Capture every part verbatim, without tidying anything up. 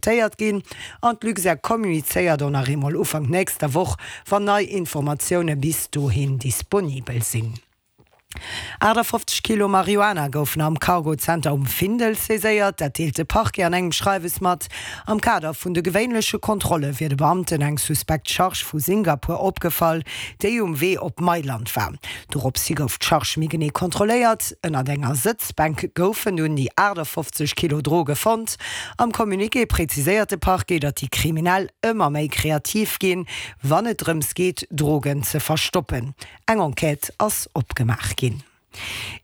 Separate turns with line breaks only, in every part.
Téiert ginn an d'Luxair kommunizéiert och nach eemol Ufank nächster Woch, wann nei Informatioune bis dohin disponibel sinn. achtafofzeg Kilo Marihuana goufen am Cargo-Zenter um Findel saiséiert. Dat deelt de Parquet an engem Schreiwes mat. Am Kader vun de gewéinleche Kontrolle wier de Beamten eng suspekt Charge vu Singapur opgefall, déi um Wee op Mailand war. Doropshi gouf d'Charge méi genee kontrolléiert. Ënnert enger Sëtzbänk goufen dunn déi achtafofzeg Kilo Droge fonnt. Am Communiqué präziséiert de Parquet, datt déi Kriminell ëmmer méi kreativ ginn, wann et drëms geet, Drogen ze verstoppen. Eng Enquête ass opgemaach ginn.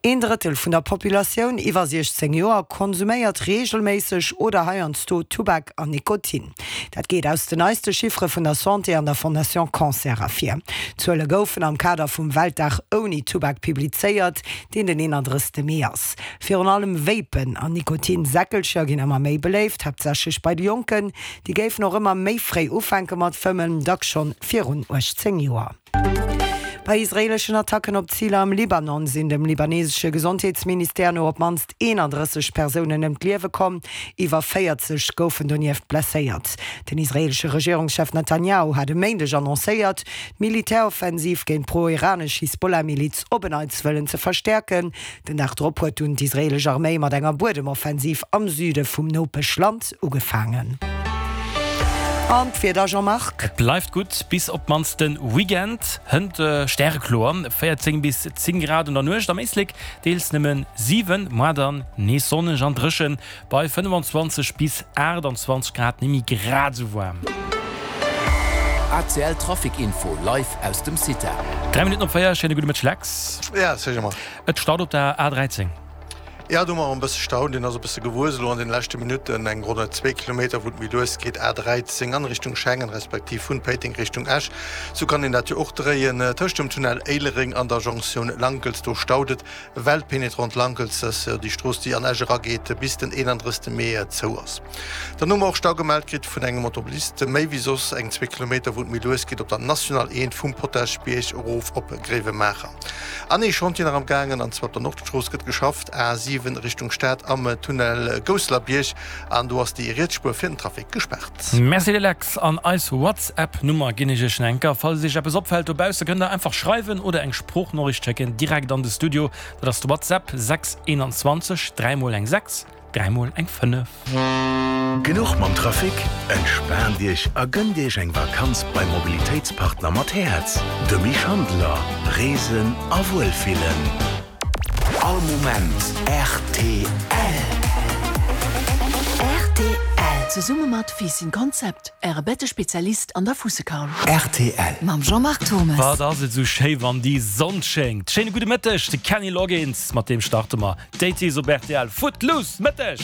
Een Drëttel vun der Populatioun iwwer siechzéng Joer konsuméiert reegelméisseg oder heiansdo Tubak an Nikotin. Dat geet aus den neiste Chiffere vun der Santé an der Fondation Cancer ervir. D'Zuele goufen am Kader vum Weltdag ouni Tubak publizéiert, deen den eenandrëssegste Mee ass. Virun allem Vapen an Nikotin-Säckelcher ginn ëmmer méi beléift, haaptsächlech bei de Jonken. Déi géifen och ëmmer méi fréi ufänke mat fëmmen, dacks schonn virun uechtzéng Joer. Bei israeeleschen Attacken op Ziler am Libanon sinn dem libanesesche Gesondheetsministère no op d'mannst eenandrësseg Persounen ëm d'Liewe komm, iwwer véierzeg goufen donieft blesséiert. Den israeelesche Regierungschef Netanjahu hat e Méindeg annoncéiert, d'Militäroffensiv géint d'pro-iranesch Hisbollah-Miliz op en Neits wëllen ze verstäerken. Den Dag drop huet dunn d'israeelesch Arméi mat enger Buedemoffensiv am Süde vum Nopeschland ugefaangen. An d'Wieder, Jean-Marc?
Et bleift gutt bis op d'mannst de Weekend. Hënt stärekloer, véierzéng bis zéng Grad an der Nuecht, am Éislek deels nëmmen siwen, moar dann nees sonneg an dréchen bei fënnefanzwanzeg bis aachtanzwanzeg Grad, némmi grad esou waarm.
A C L Trafic Info live aus dem CITA.
Dräi Minutten op véier, schéine gudde Mëtteg Lex.
Ja, salut Jean-Marc.
Et staut op der A dräizéng.
Jo, do hu mer e bësse Stau, deen ass e bësse gewuess elo an den leschte Minutten. Eng ronn zwee Kilometer, wou et méi lues geet, A dräizéng an Richtung Schengen, respektiv vun Péiteng Richtung Esch. Sou kann een dat jo och dréien. Tëscht dem Tunnel Éilereng an der Jonktioun Lankels, do staut et, well d'Pénétrante Lankels, dat ass jo déi Strooss, déi an Esch erageet, bis den eenandrëssegste Mee zou ass. Dann hu mer och Stau gemellt kritt vun engem Automobilist, méi wéi soss, eng zwee Kilometer, wou et méi lues geet op der National eent vum Potaschbierg erof op Gréiwemaacher. An ee Chantier nach am gaangen, an zwar op der Nordstrooss gëtt geschafft, A siwen Richtung Stad am Tunnel Gousselerbierg, an do ass déi riets Spuer fir den Trafic gespaart.
Merci de Lex. An eis WhatsApp Nummer ginn ech iech enker. Falls iech eppes opfält dobausse, kënnt der einfach schreiwen oder eng Sproochnoriicht schécken direkt an de Studio. Dat ass de WhatsApp sechs eenanzwanzeg dräi mol eng sechs dräi mol eng fënnef.
Genuch mam Trafic? Entspaant Iech a gënnt Iech eng Vakanz beim Mobilitéitspartner mat Häerz, de Mich Handler. Reesen a Wuelfillen.
All Moment rtl.
Rtl, zesumme mat Fiissen Concept, Äre Bettespezialist an der Fuussekaul.
Rtl.
Mam Jean-Marc Thommes.
Wat ass et sou schéi wann déi Sonn schéngt. Schéine gudde Mëtteg, de Kenny Loggins, mat deem starte mer d'Eighties op rtl. Footloose, Mëtteg!